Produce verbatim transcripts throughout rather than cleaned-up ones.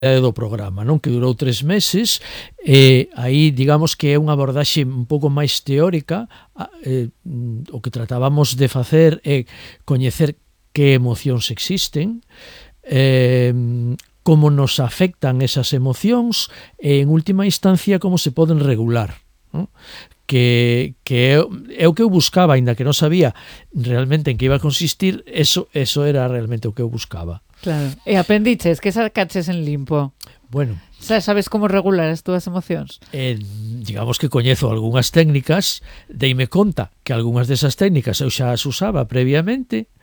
do programa, non? Que durou tres meses, e aí digamos que é unha abordaxe un pouco máis teórica. eh, o que tratábamos de facer é coñecer que emocións existen, eh, como nos afectan esas emocións e en última instancia como se poden regular, non? Que, que é, é o que eu buscaba, aínda que non sabía realmente en que iba a consistir, eso, eso era realmente o que eu buscaba. Claro. E aprendiches, que sacaches en limpo? Bueno, xa sabes como regular as túas emocións? Eh, digamos que coñezo algunhas técnicas, deime conta que algunhas desas técnicas eu xa as usaba previamente,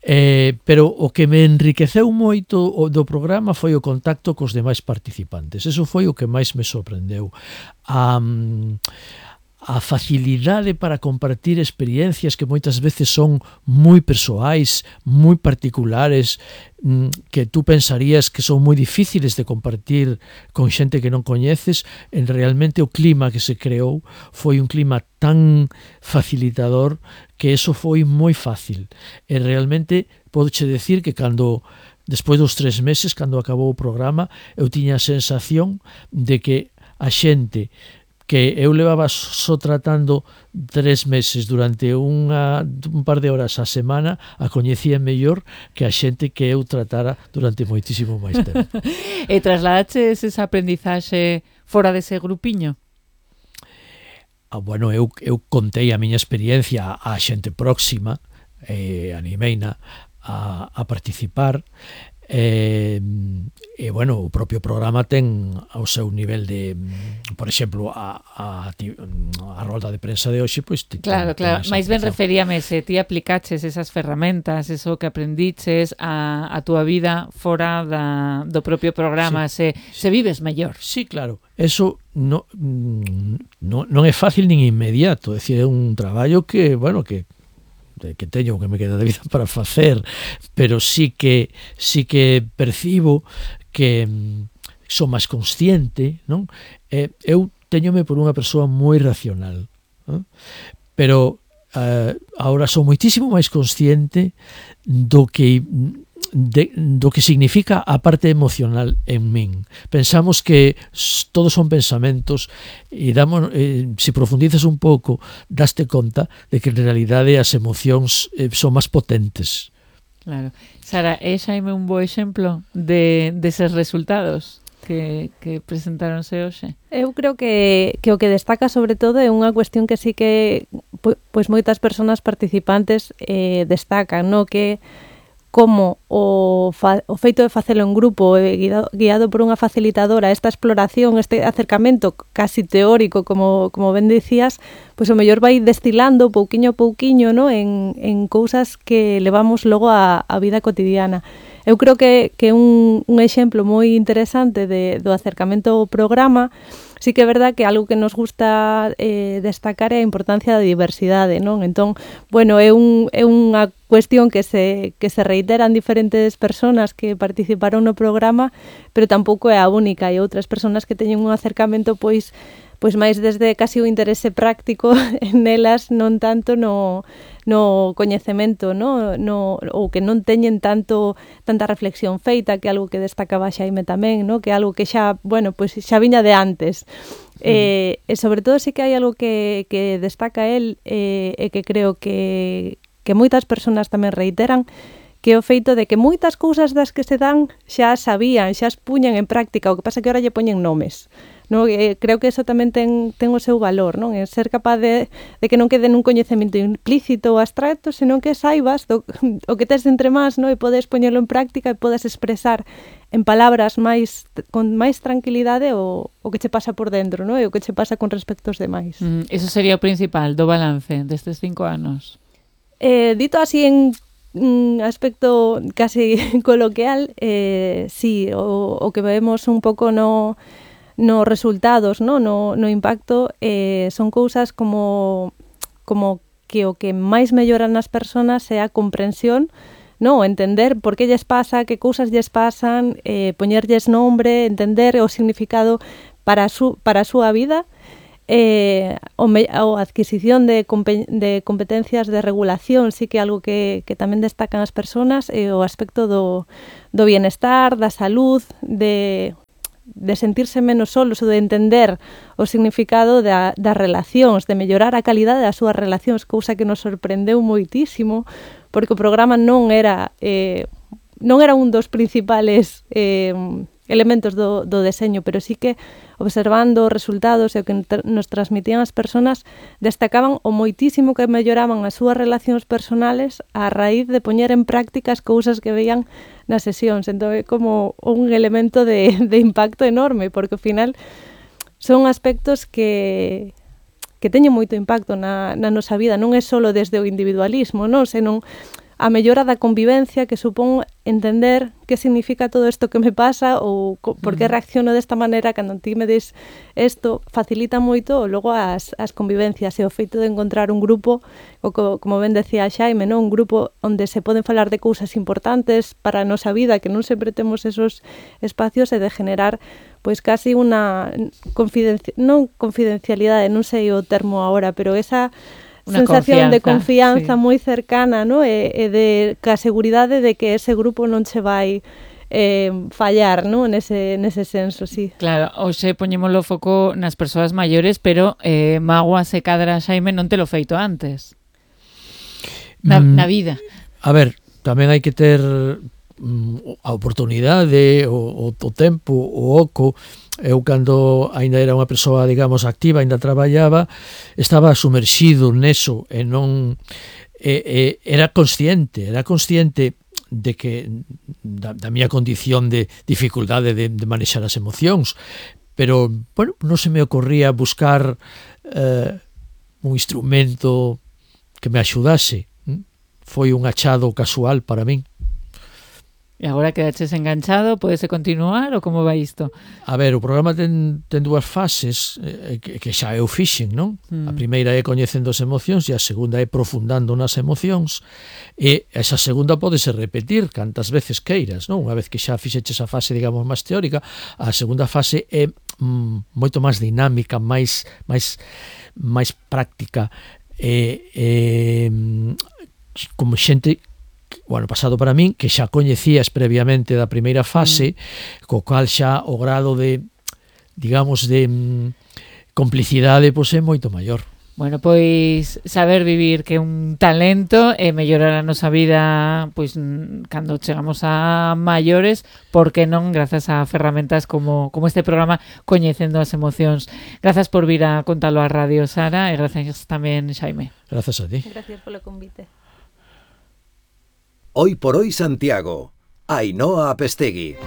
eh, pero o que me enriqueceu moito o do programa foi o contacto cos demais participantes. Eso foi o que máis me sorprendeu. A, a facilidade para compartir experiencias que moitas veces son moi persoais, moi particulares, que tú pensarías que son moi difíciles de compartir con xente que non coñeces. En realmente o clima que se creou foi un clima tan facilitador que eso foi moi fácil. E realmente podoche decir que cando despois dos tres meses, cando acabou o programa, eu tiña a sensación de que a xente que eu levaba só tratando tres meses durante unha, un par de horas a semana, a coñecía mellor que a xente que eu tratara durante moitísimo máis tempo. E trasladaches esa aprendizaxe fora dese grupiño? Ah, bueno, eu, eu contei a miña experiencia á xente próxima, eh, animeina a, a participar, e, e bueno, o propio programa ten ao seu nivel de, por exemplo, a, a, a rolda de prensa de hoxe, pois pues, claro, claro, máis ben referíame se ti aplicaches esas ferramentas, eso que aprendiches a, a túa vida fora da, do propio programa, sí, se, sí. se vives mellor. Sí, claro, eso no, no, non é fácil nin inmediato, é dicir, é un traballo que, bueno, que que teño que me queda de vida para facer, pero sí que sí que percibo que son máis consciente, non? Eh, eu teñome por unha persoa moi racional, non? Pero eh, agora son moitísimo máis consciente do que de, do que significa a parte emocional en min. Pensamos que todos son pensamentos e damos, eh, se profundizas un pouco, daste conta de que en realidade as emocións eh, son máis potentes. Claro. Sara, é Xaime un bo exemplo de deses resultados que, que presentáronse hoxe? Eu creo que, que o que destaca sobre todo é unha cuestión que sí que pois moitas persoas participantes eh, destacan, no? Que como o, fa, o feito de facelo en grupo, eh, guiado, guiado por unha facilitadora, esta exploración, este acercamento casi teórico, como, como ben dicías, pois o mellor vai destilando pouquiño a pouquiño, no? en, en cousas que levamos logo a, a vida cotidiana. Eu creo que, que un, un exemplo moi interesante de, do acercamento ao programa, sí que é verdad que algo que nos gusta eh, destacar é a importancia da diversidade, non? Entón, bueno, é, un, é unha cuestión que se, que se reitera en diferentes persoas que participaron no programa, pero tampouco é a única, e outras persoas que teñen un acercamento pois pois máis desde casi o interese práctico en elas, non tanto no, no coñecemento, no, no, ou que non teñen tanto tanta reflexión feita, que é algo que destacaba Xaime tamén, no? Que é algo que xa, bueno, pois xa viña de antes. Mm. Eh, e sobre todo sí que hai algo que, que destaca el eh, e que creo que, que moitas persoas tamén reiteran, que é o feito de que moitas cousas das que se dan xa sabían, xa as puñan en práctica, o que pasa que ahora lle poñen nomes. No, eh, creo que eso tamén ten, ten o seu valor, non? É ser capaz de, de que non quede nun coñecemento implícito ou abstracto, senón que saibas do, o que tes entre más, non? E podes poñerlo en práctica e podes expresar en palabras máis con máis tranquilidade o, o que che pasa por dentro, non? E o que che pasa con respecto aos demais. Mm, eso sería o principal do balance destes cinco anos. Eh, dito así en un aspecto casi coloquial, eh, sí, o, o que vemos un pouco no nos resultados, no, no, no impacto, eh, son cousas como, como que o que máis melloran nas persoas é a comprensión, no, entender por que lles pasa, que cousas lles pasan, eh, poñerlles nombre, entender o significado para a, su, para a súa vida, Eh, o, me, o adquisición de, compe, de competencias de regulación sí que é algo que, que tamén destacan as persoas, e o aspecto do, do bienestar, da salud, de, de sentirse menos solos ou de entender o significado da, das relacións, de mellorar a calidade das súas relacións, cousa que nos sorprendeu moitísimo, porque o programa non era eh, non era un dos principales eh, elementos do, do deseño, pero sí que observando os resultados e o que nos transmitían as persoas, destacaban o moitísimo que melloraban as súas relacións personales a raíz de poñer en práctica as cousas que veían nas sesións. Entón é como un elemento de, de impacto enorme, porque ao final son aspectos que que teñen moito impacto na, na nosa vida, non é só desde o individualismo, non, senón a mellora da convivencia que supón entender que significa todo isto que me pasa ou por que reacciono desta maneira cando ti me des isto, facilita moito logo as, as convivencias e o feito de encontrar un grupo, o co, como ben decía Xaime, non? Un grupo onde se poden falar de cousas importantes para a nosa vida, que non sempre temos esos espacios, e de generar pois casi unha confidencia, non confidencialidade, non sei o termo agora, pero esa Una sensación de confianza sí. moi cercana, ¿no? E, e de ca seguridade de que ese grupo non se vai eh, fallar, ¿no? Nese, nese senso, sí. Claro, hoxe poñémoslo foco nas persoas maiores, pero eh, mágoa se cadra, Xaime, non te lo feito antes. Na, mm, na vida. A ver, tamén hai que ter mm, a oportunidade, o, o, o tempo, o oco. Eu, cando aínda era unha persoa, digamos, activa, aínda traballaba, estaba sumerxido neso e non e, e, era consciente, era consciente de que da, da miña condición de dificultade de, de manexar as emocións, pero, bueno, non se me ocorría buscar eh, un instrumento que me axudase. Foi un achado casual para min. E agora quedaches enganchado, podese continuar ou como vai isto? A ver, o programa ten, ten dúas fases eh, que, que xa eu fixen, non? Mm. A primeira é coñecendo as emocións e a segunda é profundando nas emocións, e esa segunda pódese repetir cantas veces queiras, non? Unha vez que xa fixeches a fase, digamos, máis teórica, a segunda fase é mm, moito máis dinámica, máis máis máis práctica, e, e como xente o ano pasado para min, que xa coñecías previamente da primeira fase, mm. co cal xa o grado de, digamos, de mm, complicidade pois é moito maior. Bueno, pois saber vivir que é un talento e mellorar a nosa vida pois cando chegamos a maiores, porque non grazas a ferramentas como, como este programa Coñecendo as Emocións. Grazas por vir a contalo á radio, Sara, e grazas tamén, Xaime. Grazas a ti. Gracias polo convite. Hoy por hoy Santiago, Ainhoa Apestegui.